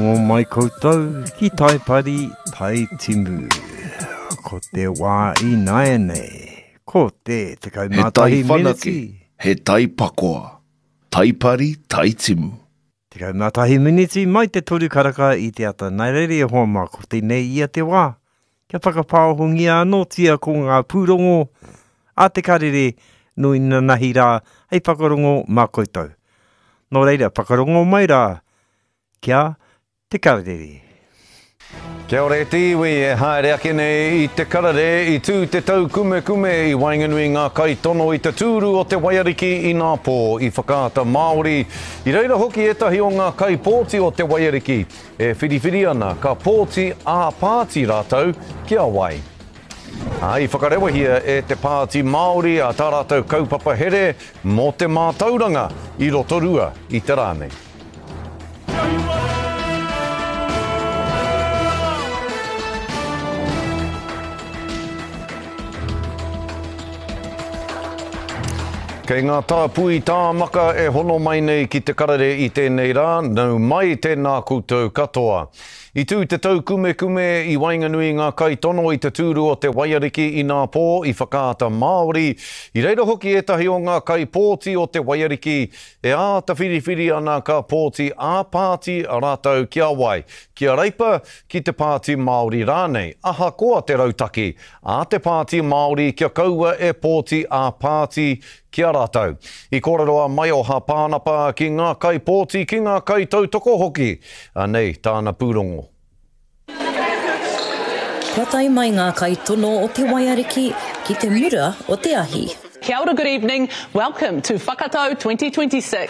Rongo mai koutou ki Taipari, Taitimu. Ko te wā ināianei, ko te 11 He tai whanake, miniti. he tai pakoa, Taipari, Taitimu. 11 miniti mai te toru karaka i te ata. Nā reira e hoa mā, ko tēnei ia te wā. Kia whakapāohongia anōtia ko ngā pūrongo a te karere nō inanahi rā hei whakarongo mā koutou. Nō reira, whakarongo mai rā Kia te karere. Kia ora e te iwi e haere ake nei i te karere i tū te taukumekume i waenganui i ngā kaitono i te tūru o te Waiariki inapō i Whakaata Māori. I reira hoki ētahi o ngā kaipōti o te Waiariki e whiriwhiri ana ka pōti ā-pāti rātou ki a wai. Ā, i whakarewahia e te Pāti Māori a tā rātou kaupapa here mō te mātauranga i Rotorua i te rā nei. Kei ngā tāpui tāmaka e hono mai nei ki te karere i tēnei rā, nau mai tēnā koutou katoa. I tū te taukumekume i waenganui i ngā kaitono i te tūru o te Waiariki inapō i Whakaata Māori. I reira hoki ētahi o ngā kaipōti o te Waiariki E āta whiriwhiri ana ka pōti ā-pāti rātou ki a wai, ki a Reipa, ki te Pāti Māori rānei, ahakoa te rautaki a te Pāti Māori kia kaua e pōti ā-pāti ki a rātou. I kōrero a Maioha Pānapa ki ngā kaipōti, ki ngā kaitautoko hoki. Anei tāna pūrongo. Kua tae mai ngā kaitono o Te Waiariki ki te mura o te ahi. Kia ora good evening, welcome to Whakatau 2026.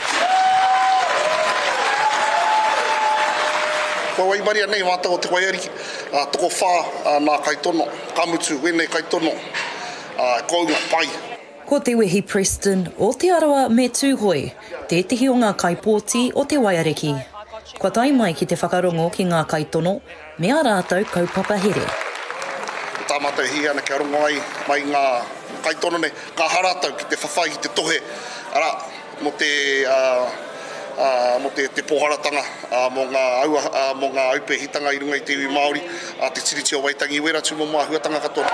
Kua waimaria nei mātou o Te Waiariki, tokowhā nā kaitono, ka mutu wēnei kaitono, kounga, pai. Ko Te Wehi Preston o Te Arawa me Tūhoe tētehi o ngā kaipōti o Te Waiariki. Kua tae mai ki te whakarongo ki ngā kaitono me ā rātou kaupapa here. Ko tā mātou e hiahia ana kia rongo ai mai ngā kaitono nei, ka aha rātou ki te whawhai, ki te tohe, arā, mō te, ā, mō te, te pōharatanga, ā, mō ngā aua, ā, mō ngā aupēhitanga i runga i te iwi Māori, ā, te Tiriti o Waitangi, wērā tūmomo āhuatanga katoa.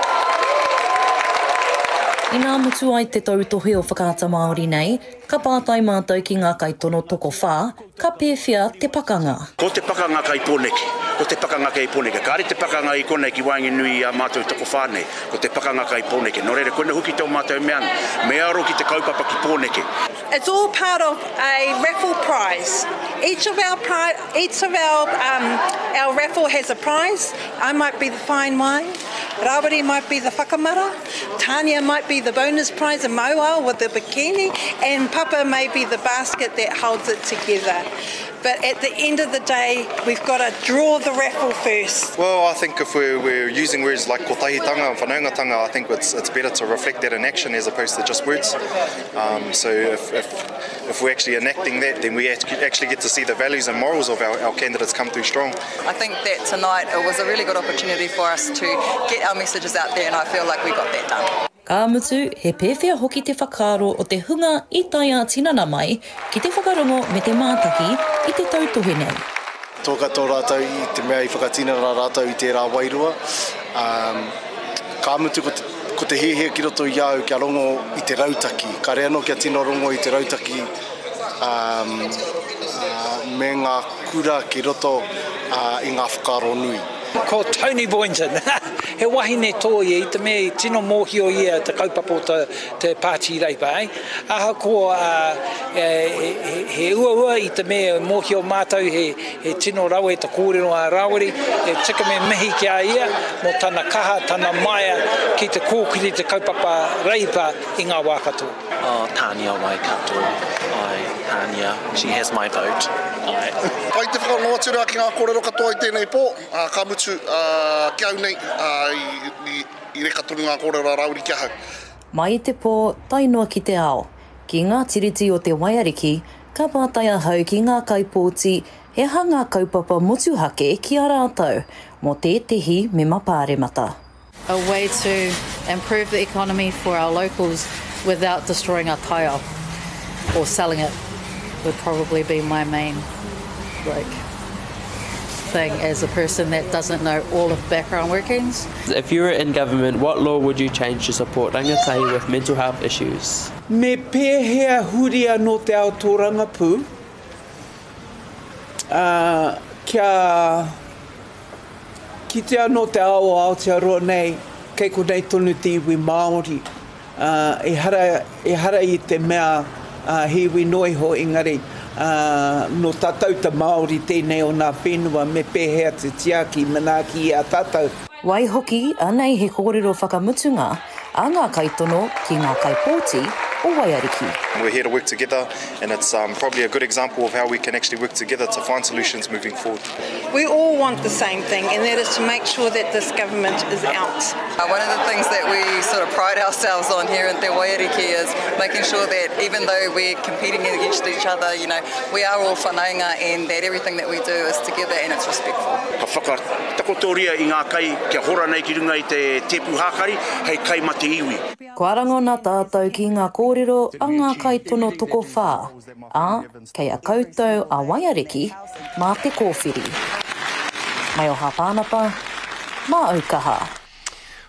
Inā mutu ai te tautohe o Whakaata Māori nei, ka pātai mātou ki ngā kaitono tokowhā, ka pēwhea te pakanga? Ko te pakanga kai Pōneke, ko te pakanga kei Pōneke. Kāre te pakanga i konei ki waenganui i a mātou tokowhā nei. Ko te pakanga kai Pōneke. Nō reira, koina hoki tō mātou mea ana, me aro ki te kaupapa ki Pōneke. It's all part of a raffle prize. Each of our pri each of our um our raffle has a prize. I might be the fine wine, Rawiri might be the whakamara, Tania might be the bonus prize and Mauao with the bikini, and Papa may be the basket that holds it together. But at the end of the day, we've got to draw the raffle first. Well, I think if we're, we're using words like kotahitanga and whanaungatanga, I think it's, it's better to reflect that in action as opposed to just words. Um, so if, if, if we're actually enacting that, then we actually get to see the values and morals of our, our candidates come through strong. I think that tonight it was a really good opportunity for us to get our messages out there and I feel like we got that done. Ka mutu, he pēwhea hoki te whakaaro o te hunga i tae ā-tinana mai ki te whakarongo me te mātaki i te tautohe nei. Toa katoa rātou i te mea i whakatinana rātou i tērā wairua. Ka mutu ko te, ko te hiahia ki roto i a au kia rongo i te rautaki. Kāre anō kia tino rongo i te rautaki me ngā kura ki roto i ngā whakaaro nui. Ko Tony Boynton, he wahine tō ia i te mea i tino mōhio ia te kaupapa o te, te Pāti Reipa. Eh? Ahakoa he uaua i te mea mōhio mātou he, he tino rawe te kōrero a Rāwiri, e tika me mihi ki a ia mō tana kaha, tana maia ki te kōkiri te kaupapa Reipa i ngā wā katoa. Oh, Tania Waikato, ae, Tania, she has my vote, ae. Pai te whakarongo atu rā ki ngā kōrero katoa i tēnei pō, ā, ka mutu, ā, ki au nei, ā, i, i, i reka tonu ngā kōrero a Rāwiri ki ahau. Mai i te pō, tae noa ki te ao, ki ngā tiriti o te Waiariki, ka pātai ahau ki ngā kaipōti he aha ngā kaupapa motuhake ki a rātou mō tētehi mema pāremata. A way to improve the economy for our locals without destroying our taiao or selling it would probably be my main like. thing as a person that doesn't know all of the background workings. If you were in government, what law would you change to support rangatahi with mental health issues? Me pēhea huri anō te ao tōrangapū, ā, kia kitea anō te ao o Aotearoa nei, kei konei tonu te iwi Māori. Ā, ehara, ehara i te mea, ā, he iwi noa iho, engari, ā, nō tātou te Māori tēnei o nā whenua, me pēhea te tiaki, manaaki i a tātou. Waihoki, anei he kōrero whakamutunga a ngā kaitono ki ngā kaipōti o Waiariki. We're here to work together and it's probably a good example of how we can actually work together to find solutions moving forward. We all want the same thing and that is to make sure that this government is out. Uh, one of the things that we sort of pride ourselves on here in Te Waiariki is making sure that even though we're competing against each other, you know, we are all whanaunga and that everything that we do is together and it's respectful. Ka whakatakotoria i ngā kai kia hora nei ki runga i te tēpu hākari hei kai ma te iwi. Kua rangona tātou ki ngā kōrero a ngā kaitono tokowhā, ā, kei a koutou a Waiariki mā te kōwhiri. Maioha Pānapa, mā Aukaha.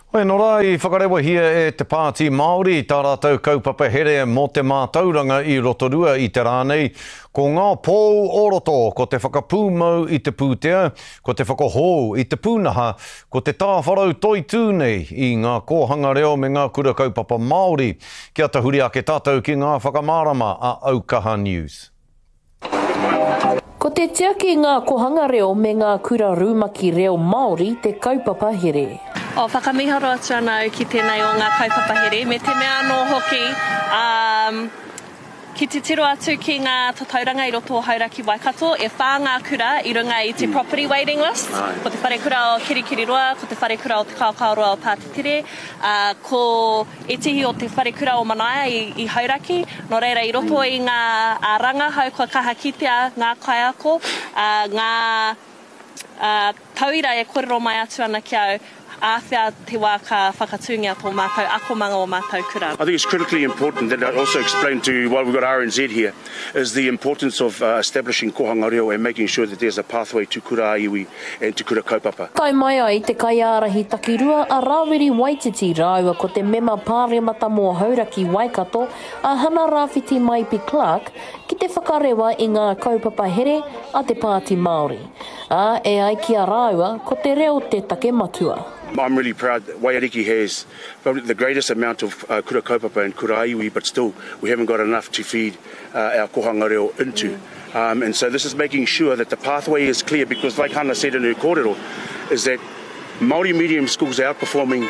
Hoi anō rā, i whakarewahia e te Pāti Māori tā rātou kaupapa here mō te mātauranga i Rotorua i te rā nei. Ko ngā pou o roto, ko te whakapūmau i te pūtea, ko te whakahou i te pūnaha, ko te tāwharau toitū nei i ngā kōhanga reo me ngā kura kaupapa Māori. Kia tahuri ake tātou ki ngā whakamārama a Aukaha News. Ko te tiaki i ngā kohanga reo me ngā kura rumaki reo Māori te kaupapa here. Oh, whakamiharo atu ana au ki tēnei o ngā kaupapa here, me te mea anō hoki, um, ki te tiro atu ki ngā tatauranga i roto o Hauraki Waikato, e whā ngā kura i runga i te property waiting list, ko te wharekura o Kirikiriroa, ko te wharekura o Te Kaokaoroa o Pātetere, ā, ko Ētehi o te wharekura o Manaia i Hauraki, nō reira i roto i ngā rangahau kua kaha kitea ngā kaiako, ngā tauira e kōrero mai atu ana ki au, āwhea te wā ka whakatūngia tō mātou akomanga o mātou kura. I think it's critically important that I also explain to while we've got RNZ here is the importance of establishing kohanga reo and making sure that there's a pathway to kura ā-iwi and te kura kaupapa. Tae mai ai te kaiārahi takirua a Rawiri Waititi rāua ko te mema pāremata mō Hauraki Waikato a Hana Rawhiti Maipi Clarke ki te whakarewa i ngā kaupapa here a te Pāti Māori. Ā, e ai ki a rāua, ko te reo te take matua. I'm really proud that Waiariki has probably the greatest amount of kura kaupapa and kura iwi but still we haven't got enough to feed our kohanga reo into. Um, and so this is making sure that the pathway is clear because like Hannah said in her kōrero, is that Māori medium schools are outperforming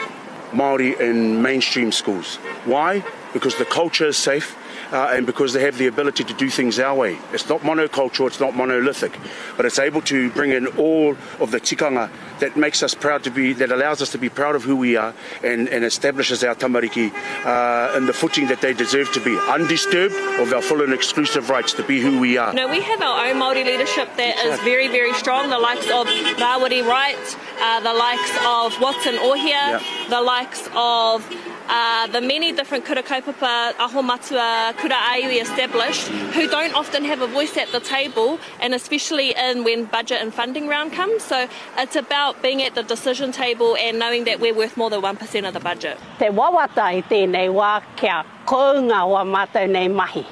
Māori in mainstream schools. Why? Because the culture is safe uh, and because they have the ability to do things our way. It's not monocultural, it's not monolithic, but it's able to bring in all of the tikanga that makes us proud to be, that allows us to be proud of who we are and, and establishes our tamariki uh, in the footing that they deserve to be, undisturbed of our full and exclusive rights to be who we are. You know, we have our own Māori leadership that is very, very strong, the likes of Rawiri Wright, uh, the likes of Watson Ohia, yeah. the likes of uh, the many different kura kaupapa, aho matua, kura aiwi established, who don't often have a voice at the table, and especially in when budget and funding round comes. So it's about being at the decision table and knowing that we're worth more than 1% of the budget. Te wawata i tēnei wā kia kounga wā mātou nei mahi.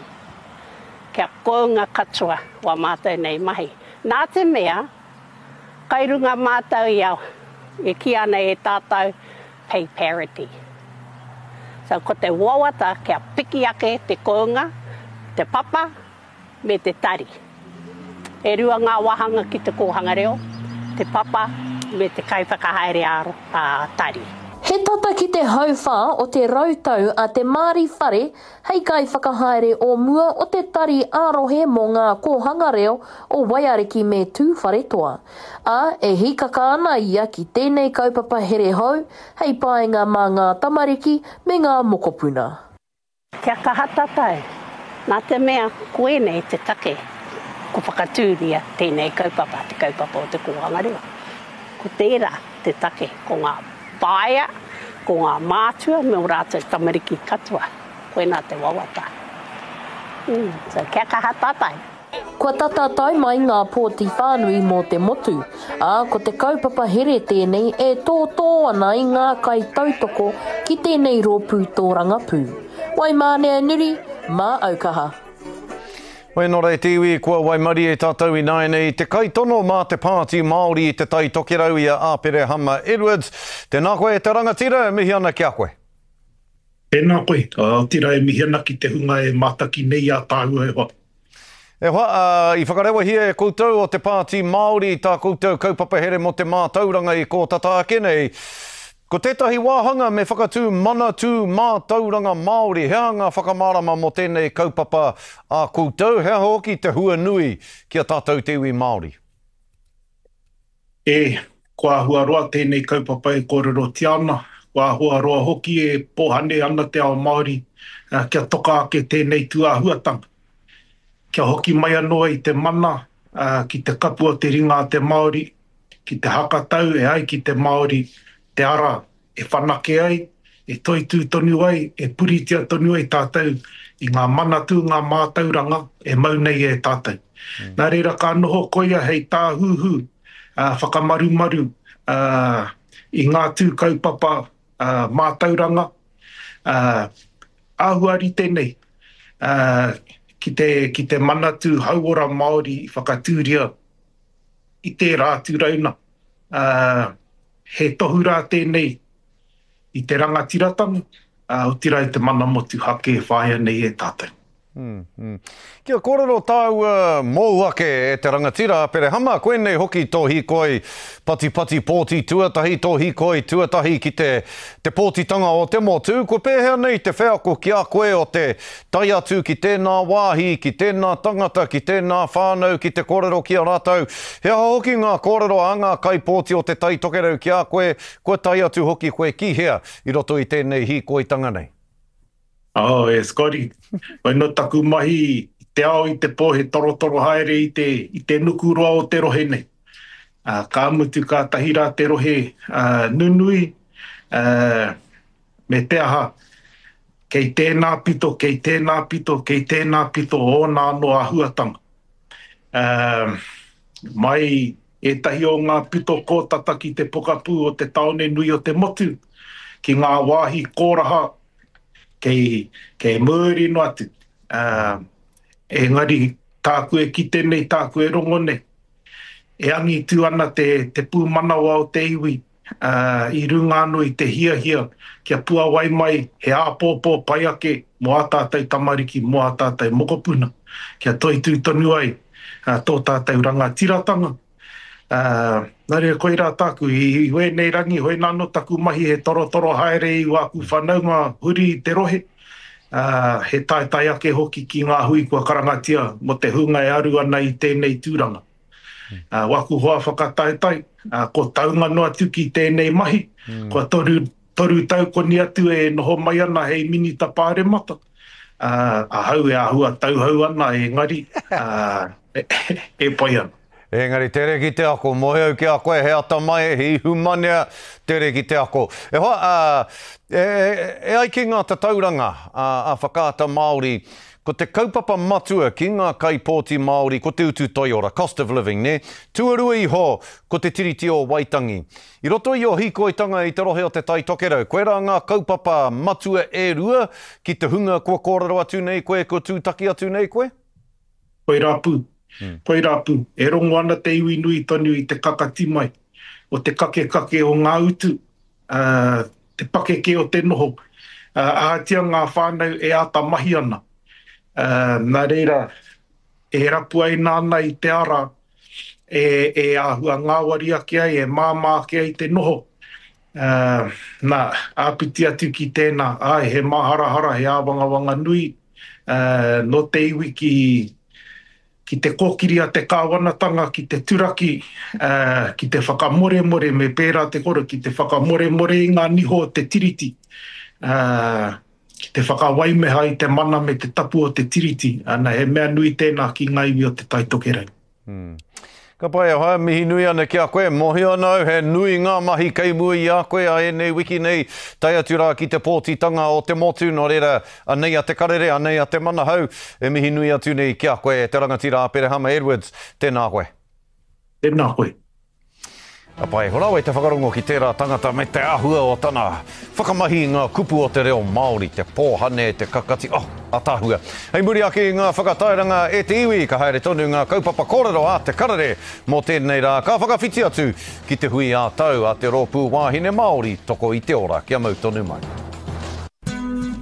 Kia kounga katoa wā mātou nei mahi. Nā te mea, kai runga mātou i a, e kī ana e tātou, pay parity. So ko te wawata kia piki ake te kounga, te papa, me te tari. E rua ngā wāhanga ki te kōhanga reo, te papa me te kaiwhakahaere ā-tari. He tata ki te hauwhā o te rautau a Te Maari Whare hei kaiwhakahaere o mua o te Tari ā-Rohe mō Ngā Kōhanga Reo o Waiariki me Tūwharetoa, ā, e hīkaka ana ia ki tēnei kaupapa here hou hei painga mā ngā tamariki me ngā mokopuna. Kia kaha tatou, nā te mea koinei te take ko whakatūria tēnei kaupapa, te kaupapa o te kōhanga reo. Ko tērā te take, ko ngā whaea, ko ngā mātua me ō rātou tamariki katoa, koinā te wawata. Mm, so kia kaha tatou. Kua tata tae mai ngā pōti whānui mō te motu, ā, ko te kaupapa here tēnei e tōtō ana i ngā kaitautoko ki tēnei rōpū tōrangapū. Waimānea Nuri, mā Aukaha. Wēnā rā e te iwi, kua waimarie tātou ināianei i te kaitono mā te Pāti Māori i Te Tai Tokerau i a Āperehama Edwards. Tēnā koe e te rangatira, e mihi ana ki a koe. Tēnā koe, otirā e mihi ana ki te hunga e mātaki nei i a tāua e hoa. E hoa, ā, i whakarewahia e koutou o te Pāti Māori tā koutou kaupapa here mō te mātauranga i kō tata ake nei. Ko tētahi wāhanga me whakatū Manatū Mātauranga Māori. He aha ngā whakamārama mō tēnei kaupapa a koutou? He aha hoki te hua nui ki a tātou te iwi Māori? E, kua āhua roa tēnei kaupapa e kōrerotia ana, kua āhua roa hoki e pōhane ana te ao Māori kia toka ake tēnei tūāhuatanga. Kia hoki mai anō ai te mana ki te kapu o te ringa a te Māori, ki te hakatau e ai ki te Māori te ara e whanake ai, e toitū tonu ai, e puritia tonu ai tātou i ngā manatū, ngā mātauranga e mau nei e tātou. Nā reira ka noho koia hei tāhuhu whakamarumaru i ngā tū kaupapa mātauranga āhua rite nei ki te, ki te Manatū Hauora Māori i whakatūria i tērā atu rauna. He tohu rā tēnei i te rangatiratanga, otirā i te mana motuhake e whāia nei e tātou. Kia kōrero tāua mōu ake e te rangatira Aperehama, koinei hoki tō hīkoi patipati pōti tuatahi, tō hīkoi tuatahi ki te te pōtitanga o te motu, kua pēhea nei te wheako ki a koe o te tae atu ki tēnā wāhi, ki tēnā tangata, ki tēnā whānau, ki te kōrero ki a rātou? He aha hoki ngā kōrero a ngā kaipōti o Te Tai Tokerau ki a koe, kua tae atu hoki koe ki hea i roto i tēnei hīkoitanga nei? Oh, e Scotty, koe no taku mahi i te ao i te po he torotoro haere i te, i te nuku roa o te rohe nei. Uh, ka mutu kātahi rā te rohe uh, nunui, uh, me te aha, kei tēnā pito, kei tēnā pito, kei tēnā pito ōna anō āhuatanga. Uh, mai ētahi o ngā pito kōtata ki te pokapū o te tāone nui o te motu, ki ngā wāhi kōraha kei, kei muri noa atu. Uh, engari, tāku e kite nei, tāku e rongo nei, e angitu ana te, te pūmanawa o te iwi uh, i runga anō i te hiahia kia puawai mai he āpōpō pai ake mō ā tātou tamariki, mō ā tātou mokopuna, kia toitū tonu ai uh, tō tātou rangatiratanga. Ā, nā reira koirā tāku, i wēnei rangi, hoina anō taku mahi he torotoro haere i wāku whanaunga huri i te rohe, ā, he taetae ake hoki ki ngā hui kua karangatia mō te hunga e aru ana i tēnei tūranga. Ā, waku hoa whakataetae, ā, ko taunga noa atu ki tēnei mahi, kua 3 tau koni atu e noho mai ana hei Minita Pāremata, ā, ahau e āhua tauhou ana engari, ā, e pai ana. Engari tere ki te ako, moe au ki a koe he atamai, he ihumanea, tere ki te ako. E hoa, ā, e, e ai ki ngā tatauranga a, a Whakaata Māori, ko te kaupapa matua ki ngā kaipōti Māori ko te utu toiora, cost of living, nē? Tuarua iho, ko te Tiriti o Waitangi. I roto i ō hīkoitanga i te rohe o Te Tai Tokerau, koirā ngā kaupapa matua e rua ki te hunga kua kōrero atu nei koe, kua tūtaki atu nei koe? Koirā pū. Koirā pū. E rongo ana te iwi nui tonu i te kakati mai o te kakekake o ngā utu, ā, te pakeke o te noho, ā, ahatia ngā whānau e āta mahi ana. Ā, nā reira, e rapuaina ana i te ara e, e āhua ngāwari ake ai, e māmā ake ai te noho. Ā, nā, āpiti atu ki tēnā, āe, he māharahara, he āwangawanga nui, ā, nō te iwi ki, ki te kōkiri a te kāwanatanga, ki te turaki, ā, ki te whakamoremore, me pērā te koro, ki te whakamoremore i ngā niho o te Tiriti, ā, ki te whakawaimeha i te mana me te tapu o te Tiriti, ana, he mea nui tēnā ki ngā iwi o Te Tai Tokerau. Ka pai e hoa, mihi nui ana ki a koe. Mohio ana au he nui ngā mahi kei mua i a koe a ēnei wiki nei, tae atu rā ki te pōtitanga o te motu, nō reira, anei a Te Karere, anei a Te Manahau, e mihi nui atu nei ki a koe e te rangatira Aperehama Edwards. Tēnā koe. Tēnā koe. Ka pai, rawe te whakarongo ki tērā tangata me te āhua o tana whakamahi i ngā kupu o te reo Māori, te pōhane, te kakati, oh, ataahua. Hei muri ake i ngā whakatairanga e te iwi, ka haere tonu ngā kaupapa kōrero a Te Karere mō tēnei rā, ka whakawhiti atu ki te hui ā-tau a te Rōpū Wāhine Māori Toko i te Ora. Kia mau tonu mai.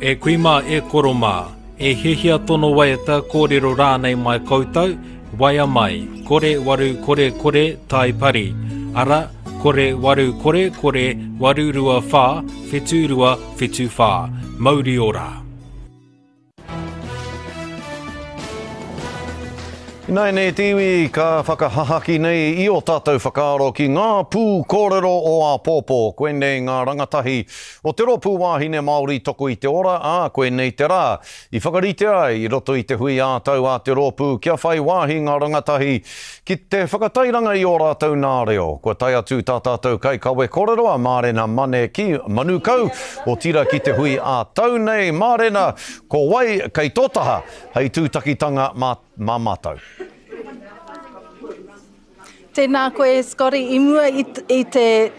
E kui mā, e koro mā, e hiahia tono waiata, kōrero rānei mai koutou, Waea mai, 0800 tai pari, ara, 0800 824 7274. Mauri ora! Ināianei te iwi ka whakahahaki nei i ō tātou whakaaro ki ngā pū kōrero o āpōpō. Koinei ngā rangatahi o te Rōpū Wāhine Māori Toko i te Ora, ā, koinei te rā I whakaritea ai i roto i te hui ā-tau a te rōpū kia whai wāhi ngā rangatahi ki te whakatairanga i ō rātou nā reo. Kua tae atu tā tātou kaikawe kōrero a Mārena Mane ki Manukau, otirā ki te hui ā-tau nei. Mārena, ko wai kei tō taha hei tūtakitanga mā mātou? Tēnā koe Scotty, i mua i, i te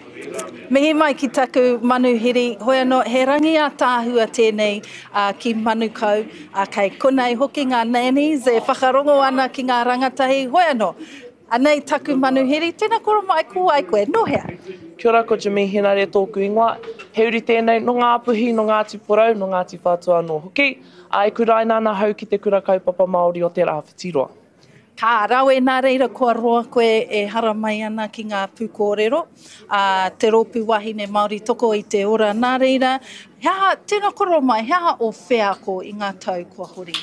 mihi mai ki taku manuhiri, hoi anō, he rangi ātaahua tēnei uh, ki Manukau, uh, kei konei hoki ngā nannies e whakarongo ana ki ngā rangatahi, hoi anō, anei taku manuhiri, tēnā koro mai, ko wai koe, nō hea? Kia ora, ko Jimmy Henare tōku ingoa. He uri tēnei nō Ngāpuhi, nō Ngāti Porou, nō Ngāti Whātua anō hoki. Ā, e kuraina ana ahau ki Te Kura Kaupapa Māori o Te Rāwhitiroa. Ka rawe nā reira kua roa koe e haramai ana ki ngā pūkōrero a Te Rōpū Wāhine Māori Toko i te Ora. Nā reira, he aha, tēnā koro mai, he aha ō wheako i ngā tau kua hori?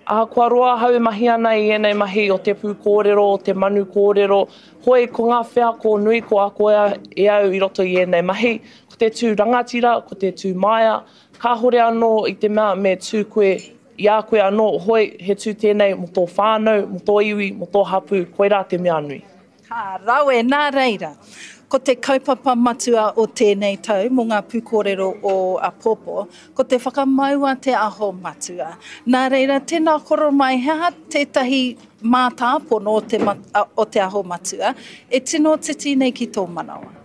Ahakoa roa ahau e mahi ana i ēnei mahi o te pūkōrero, o te manu kōrero, hoi ko ngā wheako nui ko ako e au i roto i ēnei mahi, ko te tū rangatira, ko te tū māia, kāhore anō i te mea me tū koe I a koe anō, hoi, he tū tēnei mō tō whānau, mō tō iwi, mō tō hapū, koirā te mea nui. Ka rawe, nā reira, ko te kaupapa matua o tēnei tau mō ngā pūkōrero o apōpō, ko te whakamaua te aho matua. Nā reira, tēnā koro mai, he aha tētahi mātāpono o te, o te aho matua e tino titi nei ki tō manawa?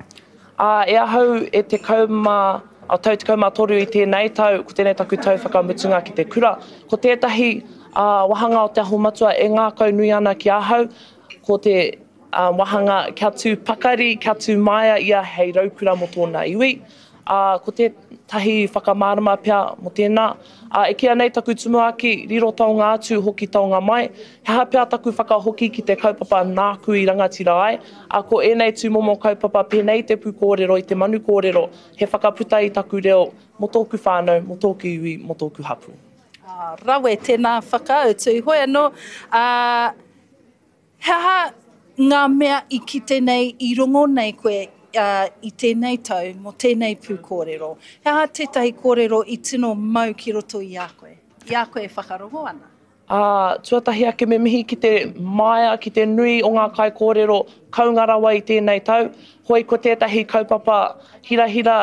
Ā, e ahau e 10, ā, tau 13 i tēnei tau, ko tēnei taku tau whakamutunga ki te kura. Ko tētahi, ā, wāhanga o Te Aho Matua e ngākaunui ana ki ahau, ko te, ā, wāhanga kia tū pakari, kia tū māia ia hei raukura mō tōna iwi. Ā, ko tētahi whakamārama pea mō tēnā, ā, e kīia nei taku tumuaki, riro taonga atu, hoki taonga mai, he aha pea taku whakahoki ki te kaupapa nāku i rangatira ai, ā, ko ēnei tūmomo kaupapa pēnei i te pūkōrero, i te manu kōrero, he whakaputa i taku reo mō tōku whānau, mō tōku iwi, mō tōku hapū. Ā, rawe tēnā whakautu. Hoi anō, ā, He aha ngā mea i kite nei, i rongo nei koe i tēnei tau mō tēnei pūkōrero? He aha tētahi kōrero i tino mau ki roto i a koe, i a koe e whakarongo ana? Ā, tuatahi ake me mihi ki te māia, ki te nui o ngā kaikōrero kounga rawa i tēnei tau. Hoi ko tētahi kaupapa hirahira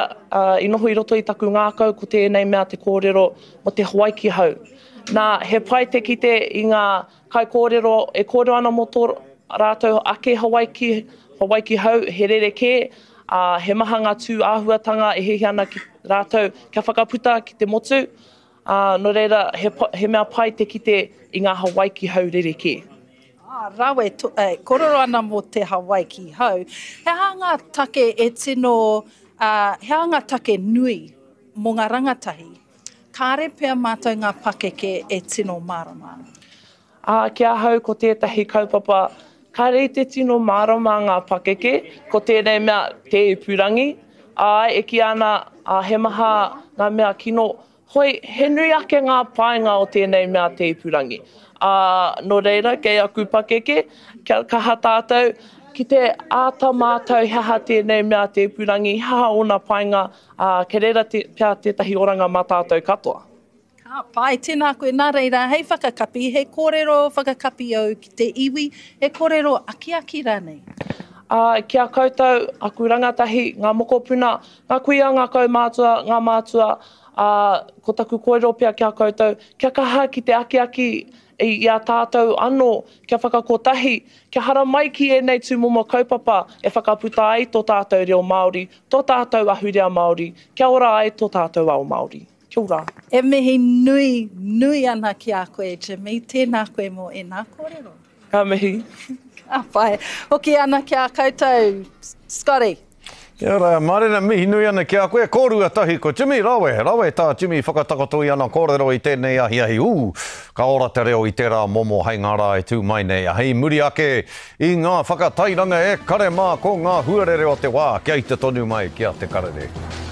i noho i roto i taku ngākau ko tēnei mea te kōrero mō te Hawaiki hau. Nā, he pai te kite i ngā Kaikōrero, e kōrero ana mō tō rātou ake Hawaiki, Hawaiki hau, he rerekē, ā, he maha ngā tū āhuatanga e hiahia ana ki rātou kia whakaputa ki te motu, ā, nō reira, he, he mea pai te kite i ngā Hawaiki hau rerekē. Ā, rawe, to, e, kōrero ana mō te Hawaiki hau. He aha ngā take e tino, ā, he aha ngā take nui mō ngā rangatahi Kāre pea mātou ngā pakeke e tino mārama ana. Ā, ki ahau ko tētahi kaupapa kāre i te tino mārama ngā pakeke, ko tēnei mea te ipurangi. Āe, e kīia ana, ā, he maha ngā mea kino, hoi, he nui ake ngā painga o tēnei mea te ipurangi. Ā, nō reira, kei aku pakeke, kia kaha tātou ki te āta mātau he aha tēnei mea te ipurangi, he aha ōna painga, Ā, kei reira te, pea tētahi oranga mā tātou katoa. Ka Ka pai, tēnā koe. Nā reira, hei whakakapi, he kōrero whakakapi au ki te iwi, he kōrero akiaki rānei? Ā, ki a koutou, aku rangatahi, ngā mokopuna, ngā kuia, ngā kaumātua, ngā mātua, ā, ko taku kōrero pea ki a koutou, kia kaha ki te akiaki i a tātou anō, kia whakakotahi, kia haramai ki ēnei tūmomo kaupapa e whakaputa ai tō tātou reo Māori, tō tātou ahurea Māori, kia ora ai tō tātou ao Māori. Kia ora. E mihi nui, nui ana ki a koe Jimmy, tēnā koe mō ēnā kōrero. Ka mihi. Ka pai. Hoki ana ki a koutou, Scotty. Kia ora, Marina, mihi nui ana ki a koe. Kōrua tahi ko Jimmy, rawe, rawe tā Jimmy whakatakoto i ana kōrero i tēnei ahiahi. Ū, ka ora te reo i tērā momo hei ngā rā e tū mai nei. Hei muri ake i ngā whakatairanga e kare mā ko ngā huarere o te wā kia ita tonu mai ki a Te Karere.